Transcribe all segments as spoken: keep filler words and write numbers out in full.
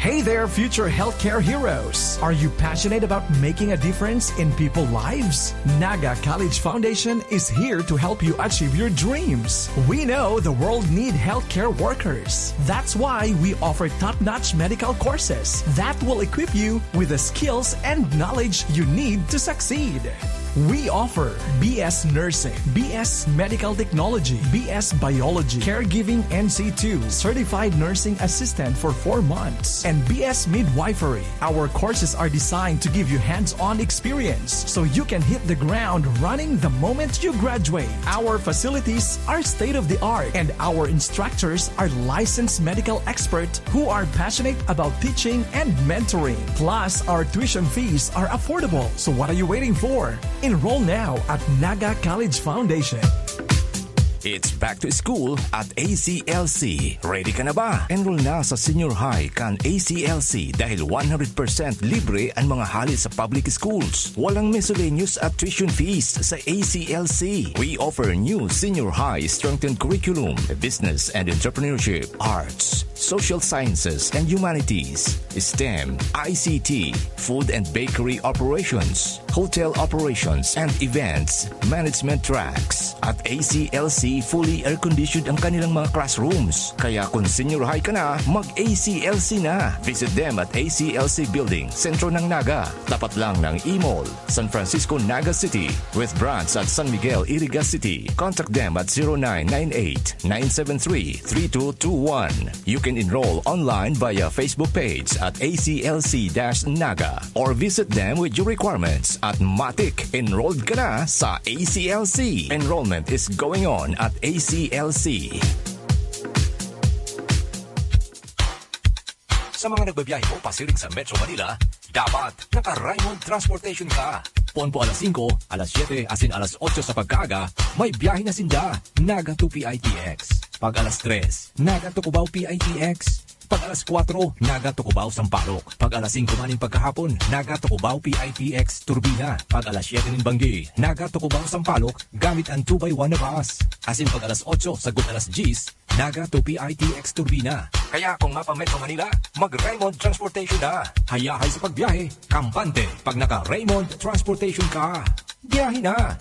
Hey there, future healthcare heroes! Are you passionate about making a difference in people's lives? Naga College Foundation is here to help you achieve your dreams. We know the world need healthcare workers. That's why we offer top-notch medical courses that will equip you with the skills and knowledge you need to succeed. We offer B S Nursing, B S Medical Technology, B S Biology, Caregiving N C two, Certified Nursing Assistant for four months, and B S Midwifery. Our courses are designed to give you hands-on experience so you can hit the ground running the moment you graduate. Our facilities are state-of-the-art, and our instructors are licensed medical experts who are passionate about teaching and mentoring. Plus, our tuition fees are affordable. So what are you waiting for? Enroll now at Naga College Foundation. It's back to school at A C L C. Ready ka na ba? Enroll na sa senior high kan A C L C dahil one hundred percent libre ang mga hali sa public schools. Walang miscellaneous at tuition fees sa A C L C. We offer new senior high strengthened curriculum, business and entrepreneurship, arts, social sciences and humanities, STEM, I C T, food and bakery operations, hotel operations and events management tracks. At A C L C, fully air-conditioned ang kanilang mga classrooms. Kaya kung senior high ka na, mag-A C L C na. Visit them at A C L C Building, sentro ng Naga, tapat lang ng E-Mall, San Francisco, Naga City, with branch at San Miguel, Iriga City. Contact them at zero nine nine eight, nine seven three, three two two one. You can enroll online via Facebook page at A C L C dash Naga or visit them with your requirements at Matik. Enrolled ka na sa A C L C. Enrollment is going on at A C L C. Sa mga nagbabiyahe po pasiring sa Metro Manila, dapat naka-Raymond Transportation ka. Poon po alas singko, alas siyete, asin alas otso sa pagkaaga, may biyahe na sinda. Naga to P I T X. Pag alas tres, Naga to Cubao P I T X. Pag alas kwatro, Naga to Cubao Sampaloc. Pag alas singko maning pagkahapon, Naga to Cubao P I T X Turbina. Pag alas siyete nin banggi, Naga to Cubao Sampaloc gamit ang two by one na bus. Asin pag alas otso sagkod alas dyes, Naga to P I T X Turbina. Kaya kung mapa-Metro Manila, mag-Raymond Transportation na. Hayahay sa pagbiyahe, kampante pag naka-Raymond Transportation ka. Biyahe na!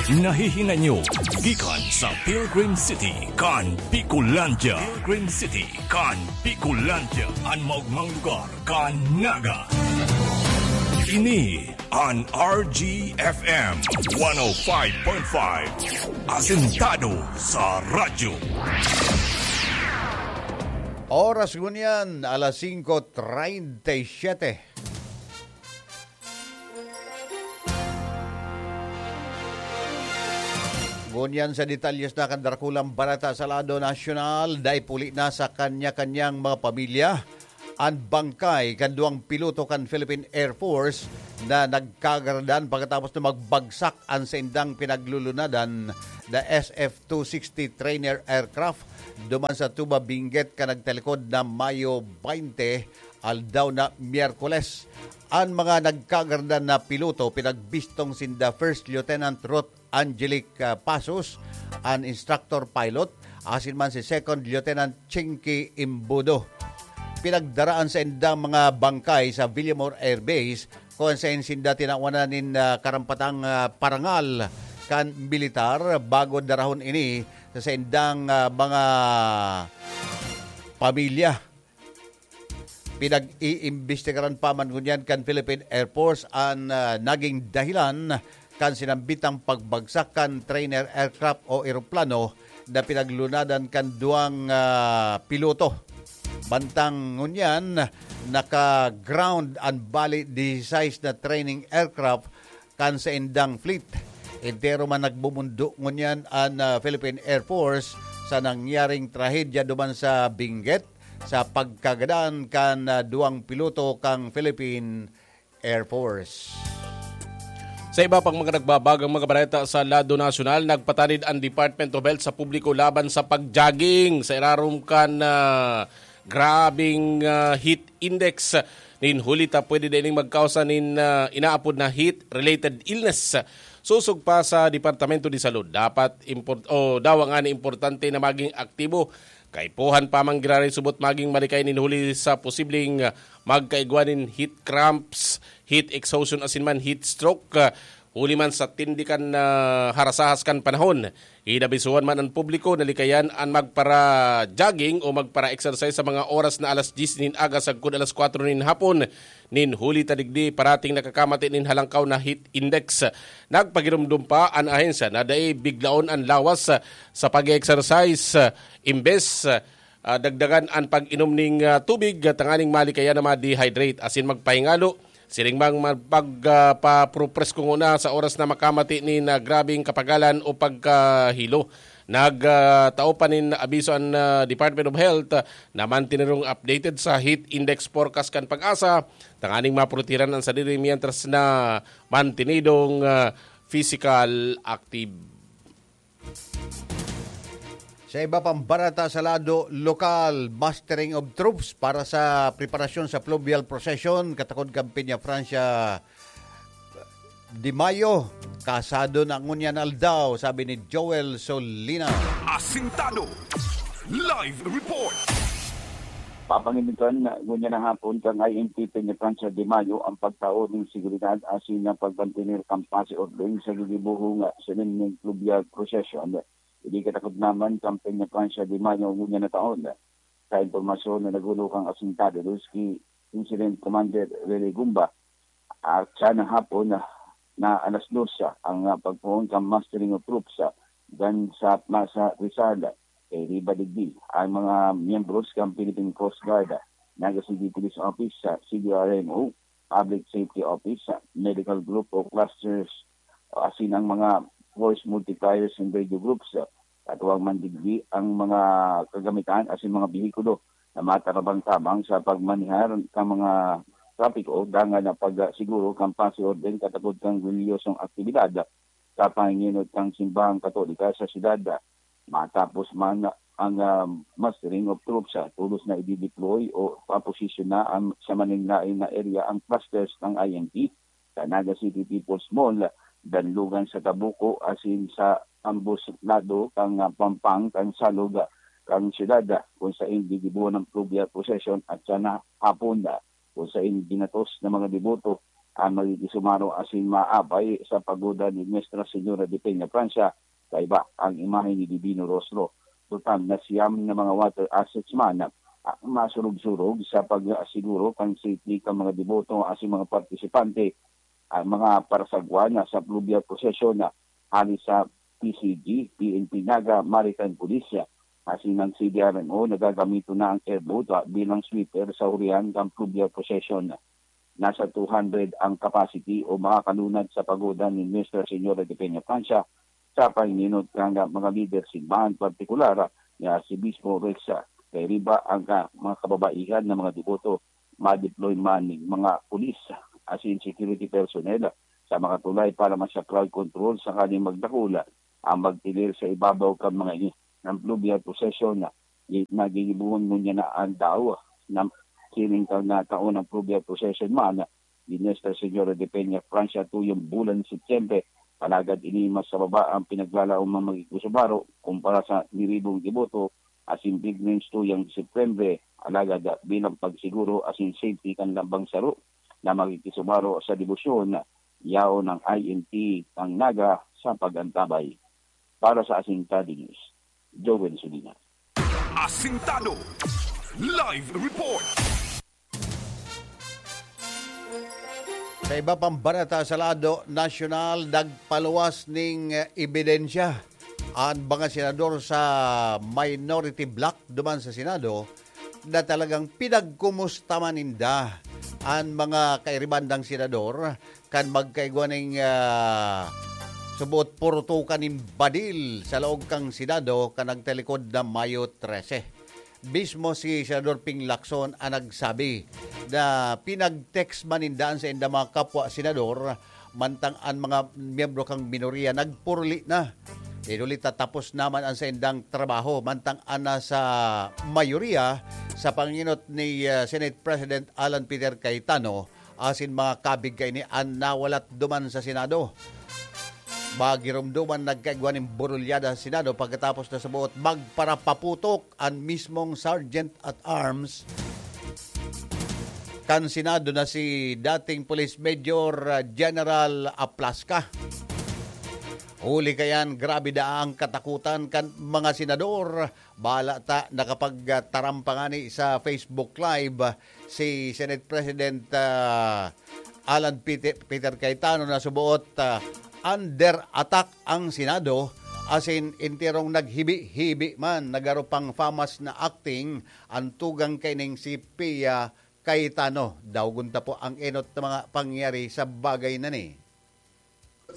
Nahihinanyo gikan sa Pilgrim City kan Bicolandia. Pilgrim City kan Bicolandia, an maogmang lugar kan Naga. Ini an R G F M one oh five point five, asentado sa radyo. Oras ngunyan, alas singko treinta y siete. Ngunyan sa detalyes na kan darakulang bareta sa lado nasyonal, dai puli na sa kanya-kanyang mga pamilya an bangkay kan duwang piloto kan Philippine Air Force na nagkagaradan pagkatapos na magbagsak an saindang pinaglulunadan na S F two sixty trainer aircraft duman sa Tuba Benguet kan nagtalikod na Mayo baynte, aldaw na Miyerkules. An mga nagkagaradan na piloto pinagbistong sinda First Lieutenant Ruth Angelic, ah, Pasos, an instructor pilot, asin man si Second Lieutenant Chinky Imbudo. Pinagdaraan sa indang mga bangkay sa Villamor Air Base, kung saen sinda tinawanan nin, ah, karampatang, ah, parangal kan militar bago darahon ini sa saindang, ah, mga pamilya. Pinag-iimbestigaran pa man ngunyan kan Philippine Air Force an, ah, naging dahilan kan sinambitang pagbagsak kan trainer aircraft o eroplano na pinaglunadan kan duwang, ah, piloto. Mantang ngunyan, naka-ground an bali disisais na training aircraft kan saindang fleet. Entero man nagmumundo ngunyan an, ah, Philippine Air Force sa nangyaring trahedya duman sa Benguet sa pagkagadan kan, ah, duwang piloto kan Philippine Air Force. Sa iba pang mga nagbabagang mga bareta sa lado nasyonal, nagpatanid ang Department of Health sa publiko laban sa pag-jogging sa irarom kan, ah, grabeng, ah, heat index nin huli ta pwede din magkausa nin, ah, inaapod na heat-related illness. Sosog pa sa Departamento de Salud, dapat import-, o dawa ngani importante na maging aktibo. Kaipuhan pa man giraray subot maging malikay nin huli sa posibleng, ah, magkaigwa nin heat cramps, heat exhaustion asin man heat stroke, ah, huli man sa tindi kan, ah, harasahas kan panahon. Inabisuhan man an publiko na likayan an magpara-jogging o magpara-exercise sa mga oras na alas diyes nin aga sagkod alas kwatro nin hapon. Nin huli ta digdi, parating nakakamati nin halangkaw na heat index. Nagpagiromdom pa an ahensya na dai biglaon an lawas sa, sa pag-exercise, ah, imbes, ah, dagdagan an pag-inom ning, ah, tubig, ah, tanganing malikayan na ma-dehydrate asin magpahingalo. Siring mang magpag-, ah, papropresko nguna sa oras na makamati nin, ah, grabeng kapagalan o pagkahilo. Nagtao pa nin abiso an, ah, Department of Health, ah, na mantinerong updated sa heat index forecast kan PAGASA, tanganing maprotehiran an sadiri mientras na mantinidong, ah, physical active. Sa iba pang barata sa lado lokal, mustering of troops para sa preparasyon sa fluvial procession katakod kan Peña Francia de Mayo. Kasado na ngunyan aldaw, sabi ni Joel Solina. Asintado. Live report. Papanginutan na ngunyan na hapon kan I M T Peña Francia de Mayo ang pagtao nin seguridad asin ang pagmantener kan paz e orden sa gigibohong solemneng fluvial procession. Ini katakod naman kan Peña Francia de Mayo ngunyan na taon. Sa impormasyon na naghulo kan Asintado dos ki Incident Commander Rene Gumba, at siya na hapon na, na alas dos ang, ah, pagpoon kan mustering of troops, ah, dan sa Plaza Rizal. Kay riba digdi, ang mga miyembros kan Philippine Coast Guard, ah, Naga City Police Office, ah, C D R M O, Public Safety Office, ah, Medical Group o Clusters, o asin ang mga force multipliers and radio groups, ah, katuwang man digdi ang mga kagamitan asin mga behikulo na matarabang-tabang sa pagmanehar kan mga trapiko, dangan na pagsiguro kan paz e orden katakod kan relihiyosong aktibidad sa panginot kan simbahang Katolika sa syudad. Matapos man ang, ah, mustering of troops, ah, tolos na i-deploy o paposisyon na ang, sa manlaen na area ang clusters ng I M P sa Naga City People's Mall, Danlugan sa Tabuco, asin sa ambos lado kan, ah, pampang kan salog, ah, kan syudad, ah, kung sain gigibohon ang fluvial procession at sana hapon, ah, kung sain ginatos na mga deboto ang magiging sumaro asin maabay sa pagoda ni Nuestra Señora de Peña Francia, kaiba ang imahe ni Divino Rostro. Total na siyam na mga water assets man ang masurog-surog sa pag-asiguro kan safety kan mga deboto asin mga partisipante. Ang mga parasagwan sa fluvial procession na hali sa P C G, P N P Naga, Maritime Police, asin ang C D R M O, nagagamiton na ang airboat, ah, bilang sweeper sa hurihan kan fluvial procession. Nasa two hundred ang capacity o makakalunad sa pagoda ni Nuestra Señora de Peña Francia sa pahininot kan mga lider simbahan, partikular ni Arcibispo Rex, ah, kay riba ang ka-, mga kababaihan na mga deboto, ma-deploy man ning mga pulis asin security personnel sa mga tulay para sa crowd control sakaling magdakula ang magtilir sa ibabaw kan mga ini. Ang fluvial procession na nagigibohon ngunyan na aldaw na sining kan nataon ang fluvial procession man ni Nuestra Señora de Peña Francia tuyong bulan Setyembre. Alagad ini mas sa baba ang pinaglalaom ng magiging kusubaro kumpara sa niribong deboto asin pilgrims tuyang Setyembre. Alagad bilang pagsiguro asin safety kan lambang saro na makikisumaro sa debosyon, yaon ang I M T kan Naga sa pag-antabay. Para sa Asintado News, Joel Sulina. Asintado. Live report. Sa iba pang barata sa lado nasyonal, nagpaluwas ning, eh, ebidensya an mga senador sa minority bloc duman sa Senado na talagang pinagkumusta man ninda an mga kairibandang senador kan magkaigwa ning, ah, subot purutukan nin badil sa laog kan Senado kan nagtalikod na Mayo trese. Mismo si Senador Ping Lacson ang nagsabi na pinag-text man ninda an saindang mga kapwa senador, mantang an mga miyembro kan minorya nagpuruli na. Inulit na tapos naman ang saindang trabaho, mantang an nasa mayorya sa panginot ni, ah, Senate President Alan Peter Cayetano asin mga kabig kaini an nawalat duman sa Senado. Pagirumduman, nagkaigwa nin burulyada sa Senado pagkatapos na sa buot magparapaputok an mismong Sergeant at Arms kan Senado na si dating Police Major, ah, General Aplasca. Huli kayan, grabe daa ang katakutan kan mga senador. Bala ta, nakapagtaram pa ngani sa Facebook Live si Senate President, ah, Alan Peter, Peter Cayetano na suboot, ah, under attack ang Senado, asin enterong naghibi-hibi man, nagaro pang famas na acting ang tugang kaining si Pia Cayetano. Daugon ta po ang enot na mga pangyayari sa bagay na ni.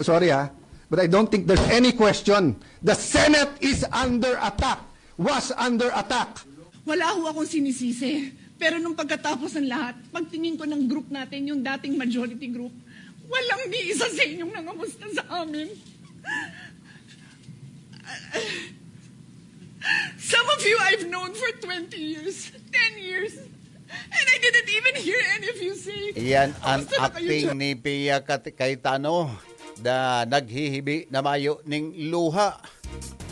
Sorry ha, but I don't think there's any question. The Senate is under attack, was under attack. Wala ho akong sinisisi. Pero nung pagkatapos ng lahat, pagtingin ko ng group natin, yung dating majority group, walang ni isa sa inyong nangamusta sa amin. Some of you I've known for twenty years, ten years, and I didn't even hear any of you say, Iyan ang "Kamusta na kayo acting dyan?" ni Pia Kat-, Cayetano na naghihibi na mayo ning luha.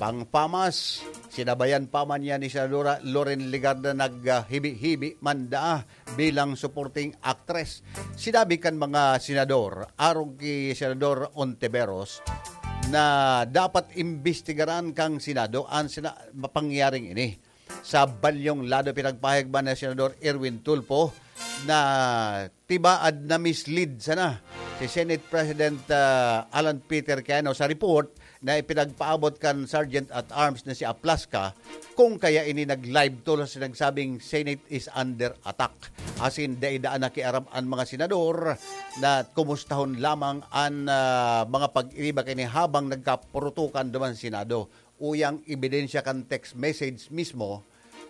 Pangpamas, sinabayan pa man niya ni Senadora Loren Legarda naghibi-hibi man daa bilang supporting actress. Sinabi kan mga senador, arog ki Senador Ontiveros, na dapat imbestigaran kang Senado an sina-, mapangyaring ini. Sa balyong lado, pinagpahayag man ni Senador Erwin Tulfo na tibaad na mislead sana si Senate President, ah, Alan Peter Cayetano sa report na ipinagpaabot kan Sergeant at Arms na si Aplasca, kung kaya ini nag-live to sa sinagsabing Senate is under attack. Asin dai daa nakiaram an mga senador na kumustahon lamang an, ah, mga pag-iriba kaini habang nagkapurutukan duman sa Senado. Uyang ebidensya kan text message mismo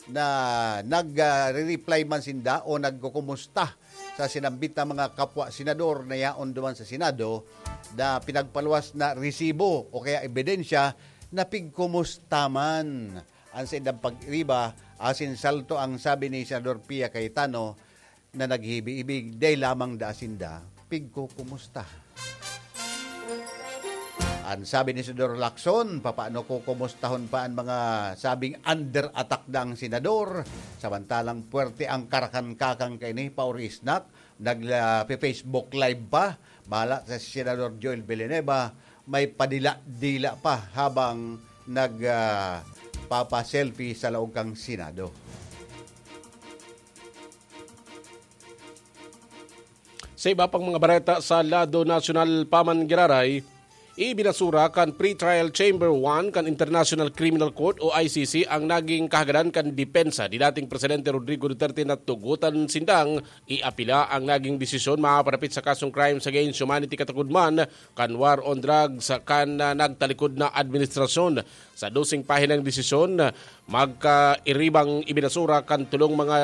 na nag, ah, re-reply man sinda o nagkukumusta sa sinambit na mga kapwa senador na yaon duman sa Senado na pinagpaluwas na resibo o kaya ebidensya na pigkumusta man an saindang pag-iriba asin salto ang sabi ni Senador Pia Cayetano na naghibi-hibi, dai lamang daa sinda pigkukumusta. An sabi ni Senador Lacson, papaano kukumustahon pa an mga sabing under attack na ang senador? Samantalang puwerte ang karakan-kakan kaini, pauri snack, nagla-, pe-, Facebook Live pa. Bala sa Senador Joel Villanueva, may padila-dila pa habang nag, ah, papa-selfie sa laog kan Senado. Sa iba pang mga bareta sa lado nasyonal pa man giraray, ibinasura kan Pretrial Chamber one kan International Criminal Court o I C C ang naging kahagadan kan depensa ni dating Presidente Rodrigo Duterte na tugotan sindang iapila ang naging desisyon mapaparapit sa kasong crimes against humanity, katagod man kan war on drugs kan, ah, nagtalikod na administrasyon. Sa doseng pahinang desisyon, magkairibang ibinasura kan tolong mga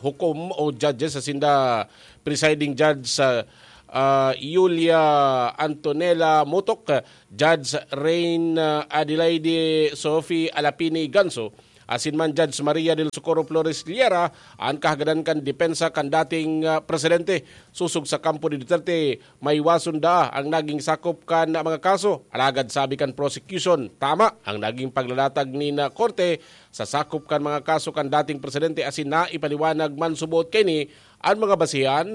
hukom o judges, sa sinda Presiding Judge, ah, ah, Julia Antonella Motok, Judge Rain, ah, Adelaide Sophie Alapini Ganso, asin man Judge Maria del Socorro Flores Liera, an kahagadan kan depensa kan dating, ah, presidente. Sosog sa kampo ni Duterte, maiwason daa ang naging sakop kan mga kaso. Alagad sabi kan prosecution, tama ang naging paglalatag nin korte sa sakop kan mga kaso kan dating presidente asin naipaliwanag man subot kaini an mga basehan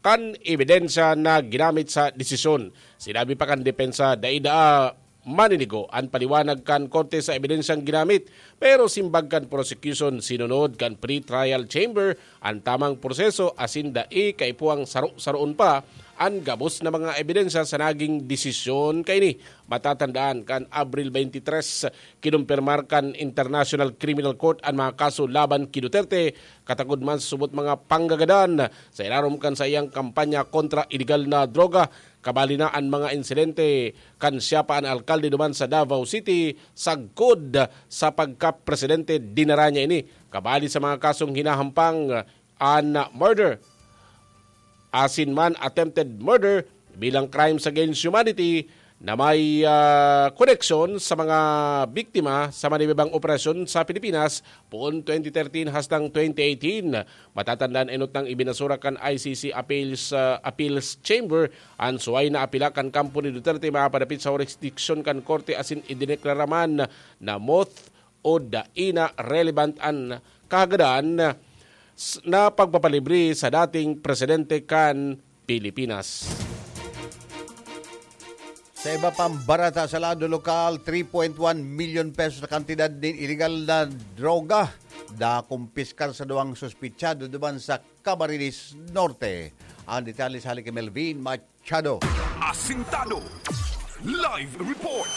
kan ebidensya na ginamit sa desisyon. Sinabi pa kan depensa, dai daa maninigo an paliwanag kan korte sa ebidensyang ginamit, pero simbag kan prosecution, sinunod kan pre-trial chamber an tamang proseso asin dai kaipuhang saro-saroon pa an gabos na mga ebidensya sa naging desisyon kaini. Matatandaan, kan Abril twenty-three, kinumpirmar kan International Criminal Court an mga kaso laban ki Duterte, katagod man sa subot mga panggagadan sa ilarom kan saiyang kampanya kontra iligal na droga. Kabali na an mga insidente kan siya pa an alkalde duman sa Davao City, sagkod sa pagkapresidente, dinara niya ini. Kabali sa mga kasong hinahampang, an murder, asin man attempted murder bilang crimes against humanity, na may, ah, koneksyon sa mga biktima sa manibibang operasyon sa Pilipinas poon twenty thirteen hastang twenty eighteen. Matatandaan, enot nang ibinasura kan I C C Appeals, ah, Appeals Chamber an suway na apela kan kampo ni Duterte mapadapit sa hurisdiksyon kan korte asin idineklara man na moth o dai na relevant an kahagadan s-, na pagpapalibre sa dating presidente kan Pilipinas. Sa iba pang barata sa lado lokal, three point one milyon pesos na kantidad nin iligal na droga nakumpiskar sa duwang suspitsado duman sa Camarines Norte. Ang detalye sa hali ki Melvin Machado. Asintado. Live report.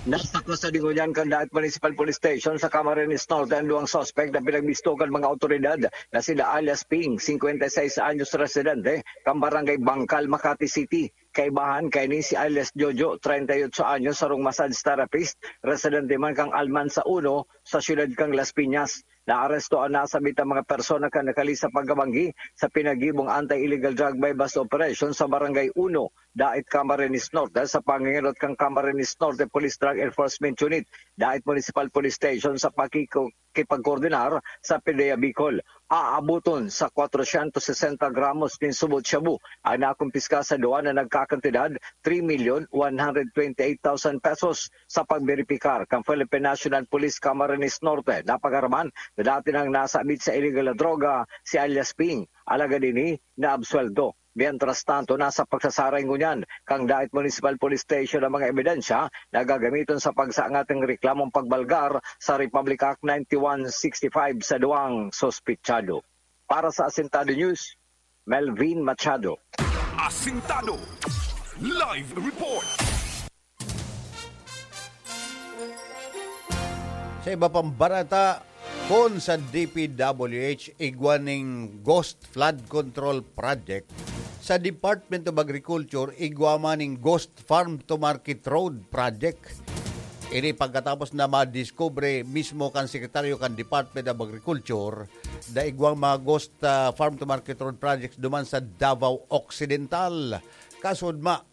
Nasakos sa dingoyan kan Daet Municipal Police Station sa Camarines Norte ang duwang suspek na pinagbisto kan mga awtoridad na sila alias Ping, singkwenta y seis anyos, residente kan Barangay Bangkal, Makati City. Kaibahan kaini si alias Jojo, treinta y ocho anyos, sarong massage therapist, residente man kan Almansa Uno sa siyudad kan Las Piñas. Naaresto an nasabitang mga persona kan nakalis sa pagkabanggi sa pinagibong anti-illegal drug buy-bust operation sa Barangay Uno, Daet, Camarines Norte, sa pangengenot kan Camarines Norte Police Drug Enforcement Unit, Daet Municipal Police Station, sa pakiko-, kipagkoordinar sa PDEA Bicol. Aaboton sa kwatrosyentos sesenta gramos nin subot shabu ang nakumpiska sa duwa na nagkakantidad three million one hundred twenty-eight thousand pesos. Sa pagberipikar kan Philippine National Police Camarines Norte, napag-araman na dati nang nasabit sa iligal na droga si alias Ping, alagad ini naabsuelto. Mientras tanto, nasa pagsasaray ngunyan kan Daet Municipal Police Station ang mga ebidensya na gagamiton sa pagsaangat nin reklamong pagbalgar sa Republic Act ninety-one sixty-five sa duwang suspitsado. Para sa Asintado News, Melvin Machado. Asintado. Live report. Sa iba pang barata, kun sa D P W H igwa ning ghost flood control project, sa Department of Agriculture igwa man ning ghost farm to market road project. Ini pagkatapos na madiskubre mismo kan sekretaryo kan Department of Agriculture na igwang mga ghost, ah, farm to market road projects duman sa Davao Occidental. Kasudma,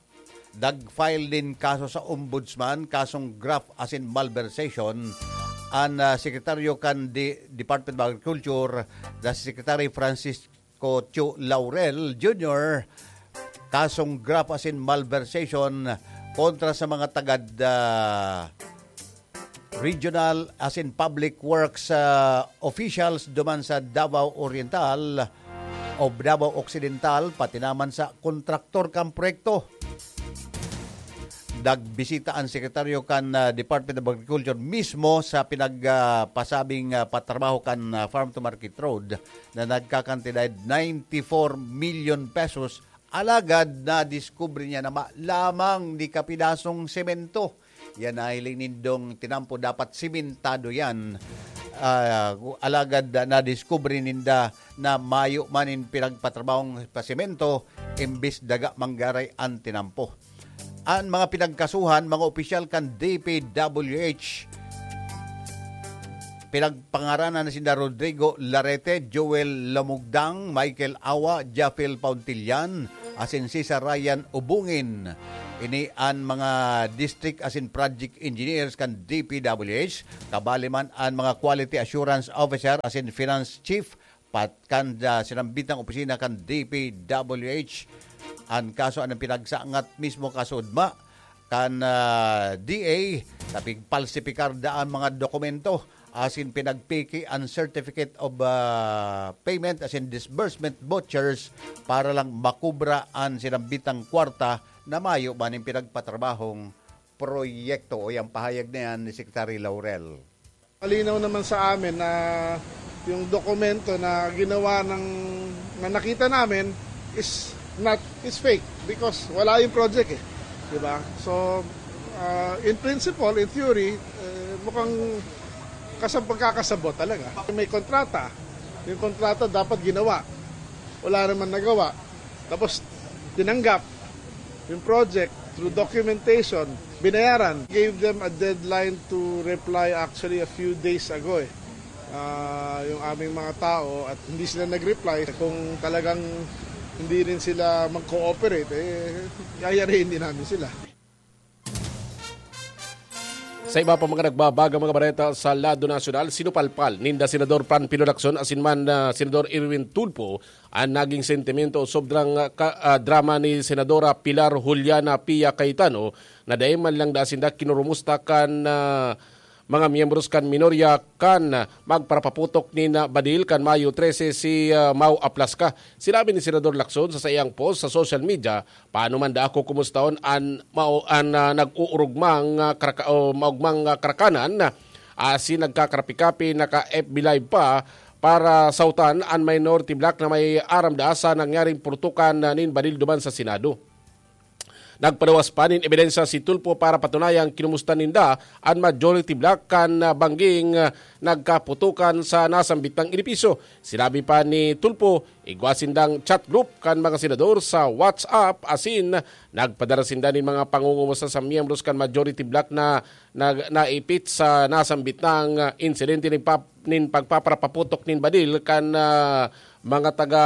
nag-file nin kaso sa Ombudsman, kasong graft asin malversation, an, ah, sekretaryo kan di-, Department of Agriculture na si Secretary Francisco Cho Laurel Junior, kasong graft asin malversation kontra sa mga tagad, ah, regional asin public works, ah, officials duman sa Davao Oriental o Davao Occidental, pati naman sa kontraktor kan proyekto. Nagbisita ang sekretaryo kan, ah, Department of Agriculture mismo sa pinag, ah, pasabing, ah, patrabaho kan, ah, farm to market road na nagkakantidad ninety-four million pesos. Alagad nadiskubre niya na ma-, lamang ni kapidasong semento. Yan nahiling nindong tinampo, dapat simentado yan. Ah, alagad na nadiskubre ninda na mayo man in pinagpatrabahong pasemento, imbis daga manggaray an tinampo. An mga pinagkasuhan, mga opisyal kan D P W H, pinagpangaranan na sinda Rodrigo Larete, Joel Lamugdang, Michael Awa, Japhil Pauntillan, asin Cesar Ryan Ubungin. Ini an mga district asin project engineers kan D P W H, kabali man an mga quality assurance officer asin finance chief, pat-, kan, ah, sinambitang opisina kan D P W H. An kaso an pinagsangat mismo kasudma kan, ah, D A, na pigpalsipikar daa an mga dokumento asin pinagpeke an certificate of, ah, payment asin disbursement vouchers para lang makubra an sinambitang kwarta na mayo man nin pinagpatrabahong proyekto. O, yang pahayag na yan ni Secretary Laurel. Malinaw naman sa amin na yung dokumento na ginawa ng, na nakita namin is not, is fake because wala yung project eh. Di ba? So, ah, in principle, in theory, eh, mukhang kasab-, pagkakasabot talaga. May kontrata. Yung kontrata dapat ginawa. Wala naman nagawa. Tapos, tinanggap yung project through documentation, binayaran. Gave them a deadline to reply actually a few days ago eh. Ah, yung aming mga tao at hindi sila nag-reply. Kung talagang hindi rin sila mag-cooperate, eh, yayariin din namin sila. Sa iba pa mga nagbabagang mga bareta sa lado nasyonal, sinupalpal ninda Senador Panfilo Lacson asin man na Senador Erwin Tulfo an naging sentimento o sobrang, ah, ka-, ah, drama ni Senadora Pilar Juliana Pia Cayetano na dai man lang da sinda kinurumusta kan, ah, mga miyembros kan minorya kan magparapaputok nin, ah, badil kan Mayo trese si, ah, Mau Aplasca. Sinabi ni Senador Lacson sa saiyang post sa social media, "Paano man da ako kumustahon an mao-, an, ah, nag-uurugmang, ah, karaka-, o maugmang, ah, karakanan, ah, asin nagkakarapi-kapi, naka-F B Live pa para sautan an minority bloc na may aram da sa nangyaring purtukan, ah, nin badil duman sa Senado." Nagpaluwas pa nin ebidensya si Tulfo para patunayan kinumusta ninda an majority bloc kan, ah, bangging, ah, nagkaputukan sa nasambit na edipisyo. Sinabi pa ni Tulfo, igwa sindang chat group kan mga senador sa WhatsApp asin nagpadara sinda nin mga pangungumusta sa miyembros kan majority bloc na, na naipit sa nasambit na, ah, insidente nin pap-, nin pagpaparapaputok nin badil kan, ah, mga taga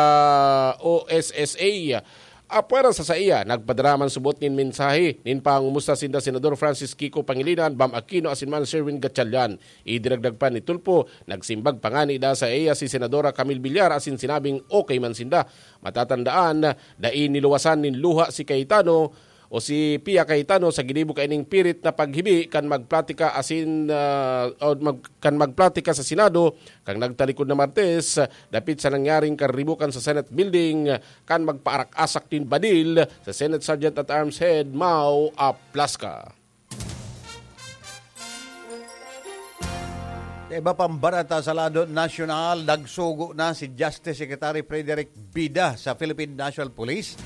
O S S A. Apwera sa saiya, nagpadara man subot nin mensahe nin pangumusta sinda Senador Francis Kiko Pangilinan, Bam Aquino asin man Sherwin Gatchalian. Idinagdag pa ni Tulfo, nagsimbag pa ngani da sa iya si Senadora Camille Villar asin sinabing okay man sinda. Matatandaan, dai niluwasan nin luha si Cayetano o si Pia Cayetano sa ginibo kaining pirit na paghibi kan magplatika asin, ah, o mag-, kan magplatika sa Senado kan nagtalikod na Martes, dapit sa nangyaring karibukan sa Senate Building, kan magpaarak-asak nin badil sa Senate Sergeant at Arms Head Mau Aplasca. Sa iba pang bareta sa lado nasyonal, nagsugo na si Justice Secretary Frederick Bida sa Philippine National Police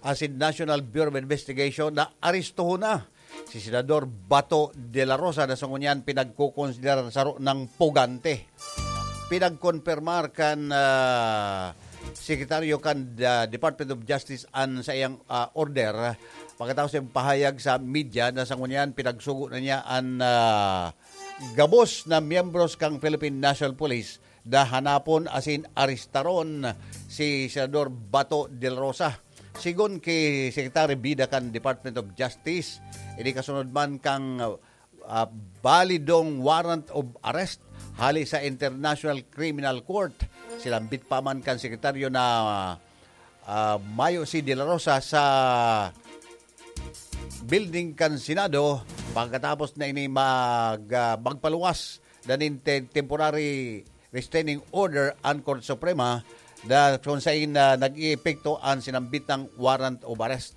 asin National Bureau of Investigation na arestohon na si Senador Bato de la Rosa na sa ngunyan pinagkukonsiderar saro ng pugante. Pinagkonpermar kan, ah, sekretaryo kan, ah, Department of Justice an saiyang, ah, order. Pagkatapos ng pahayag sa media na sa ngunyan pinagsugo na niya an, ah, gabos na miyembros kan Philippine National Police na hanapon asin arestaron si Senador Bato de la Rosa. Sigon ki Secretary Bida kan Department of Justice, ini kasunod man kan, ah, balidong warrant of arrest hali sa International Criminal Court. Sinambit pa man kan sekretaryo na, ah, mayo si De La Rosa sa building kan Senado pagkatapos na ini mag, ah, magpaluwas na nin te-, temporary restraining order an Korte Suprema na kung sain na nag-iepekto an sinambitang warrant of arrest.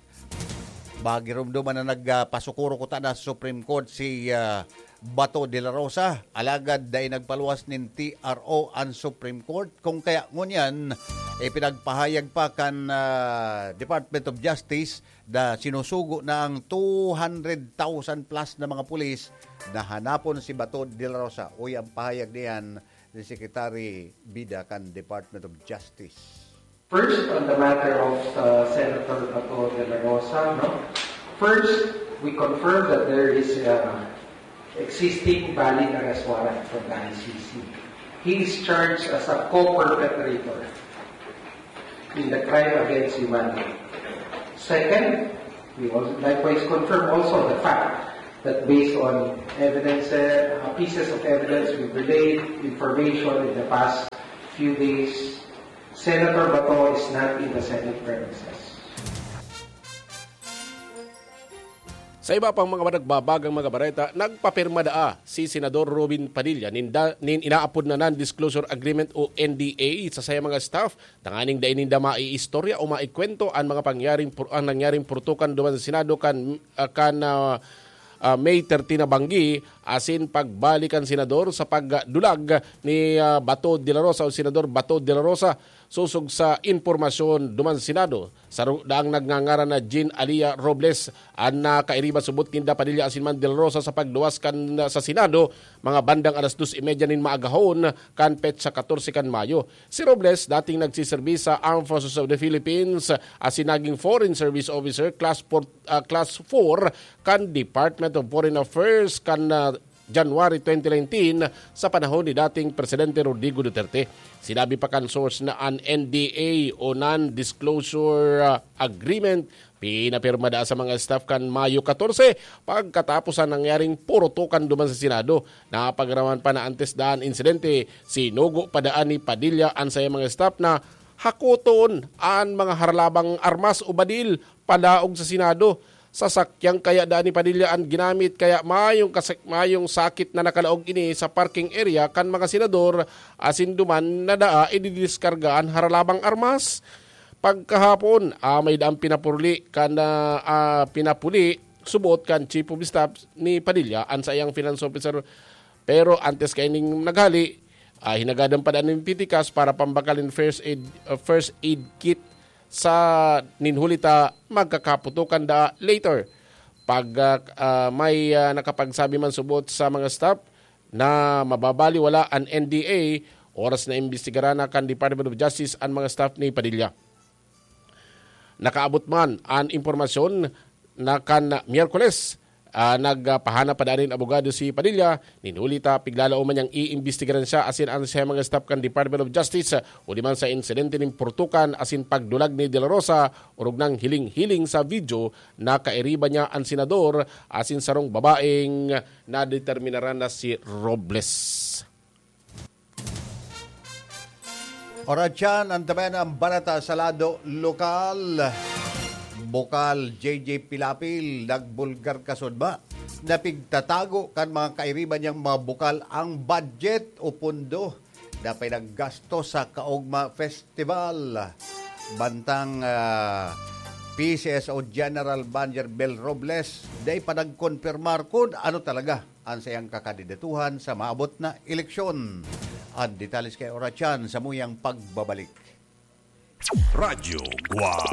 Magirumduman na nagpasukuro kuta na sa Supreme Court si, ah, Bato de la Rosa, alagad dai nagpaluwas nin T R O an Supreme Court. Kung kaya ngunyan, ipinagpahayag pa kan, ah, Department of Justice na sinusugo na ang two hundred thousand plus na mga pulis na hanapon si Bato de la Rosa. Uy, ang pahayag niyan ni Secretary Bida kan Department of Justice. First, on the matter of, uh, Senator Bato de la Rosa, no? First, we confirm that there is, uh, existing valid arrest warrant from the I C C. He is charged as a co-perpetrator in the crime against humanity. Second, we also likewise confirm also the fact that based on evidence, uh, pieces of evidence we relayed, information in the past few days, Senator Bato is not in the Senate premises. Sa iba pang mga nagbabagang mga bareta, nagpapirma daa si Senador Robin Padilla ninda, nin inaapod na Non-Disclosure Agreement o N D A sa saya mga staff, tanganing dai ninda maiistorya o maikwento an mga pangyaring pur-, ang nangyaring purtukan duman sa Senado kan, ah, kan, ah, ah, May thirteen na banggi, asin pagbalik kan senador sa pagdulag ni, ah, Bato de la Rosa o Senador Bato de la Rosa. Sosog sa impormasyon duman sa Senado, saro daang nagngangaran na Jean Alia Robles an nakairiba subot ninda Padilla asin man De La Rosa sa pagluwas kan sa Senado mga bandang alas dos y media nin maagahon kan petsa katorse kan Mayo. Si Robles, dating nagsiserbi sa Armed Forces of the Philippines asin naging Foreign Service Officer Class four, ah, Class four kan Department of Foreign Affairs kan, ah, January twenty nineteen sa panahon ni dating Presidente Rodrigo Duterte. Sinabi pa kan source na an N D A o Non-Disclosure, ah, Agreement Inapirma daa sa mga staff kan Mayo katorse, pagkatapos sa nangyaring purutukan duman sa Senado. Napagaraman pa na antes daan insidente, sinugo pa daan ni Padilla an saiyang mga staff na hakoton an mga haralabang armas o badil palaog sa Senado. Sasakyang kaya daan ni Padilla an ginamit, kaya mayong kasak-, mayong sakit na nakalaog ini sa parking area kan mga senador, asin duman na daa ididiskarga an haralabang armas. Pagkahapon, ah, may daang pinapuli kan, ah, ah, pinapuli, subot kan Chief of Staff ni Padilla, an saiyang finance officer. Pero antes kaining naghali, ah, hinagadan pa daan nin pitikas para pambakalin first aid, ah, first aid kit sa ninhuli ta magkakaputukan da later. Pag, ah, ah, may, ah, nakapagsabi man subot sa mga staff na mababaliwala an N D A, oras na imbestigaran na kan Department of Justice an mga staff ni Padilla. Nakaabot man an impormasyon na kan Miyerkules, ah, nagpahanap pa daan nin abogado si Padilla, ninuli ta piglalaom man niyang iimbestigaran siya asin an siya mga staff kan Department of Justice, ah, uli man sa insidente nin purtukan asin pagdulag ni De La Rosa, orog nang hiling-hiling sa video na kairiba niya an senador asin sarong babaeng nadeterminaran na si Robles. Oratyan, antabayan ang balita sa lado lokal. Bukal, J J Pilapil, nagbulgar kasudma. Napigtatago kan mga kairiba niyang mga bukal ang budget o pondo na pinaggasto sa Kaugma Festival. Bantang, ah, P C S O General Manager Bel Robles, dai pa nagkonpirmar kun ano talaga an saiyang kakandidatuhan sa maabot na eleksyon. An detalye kay Oratyan sa muyang pagbabalik. Radyo Guwang.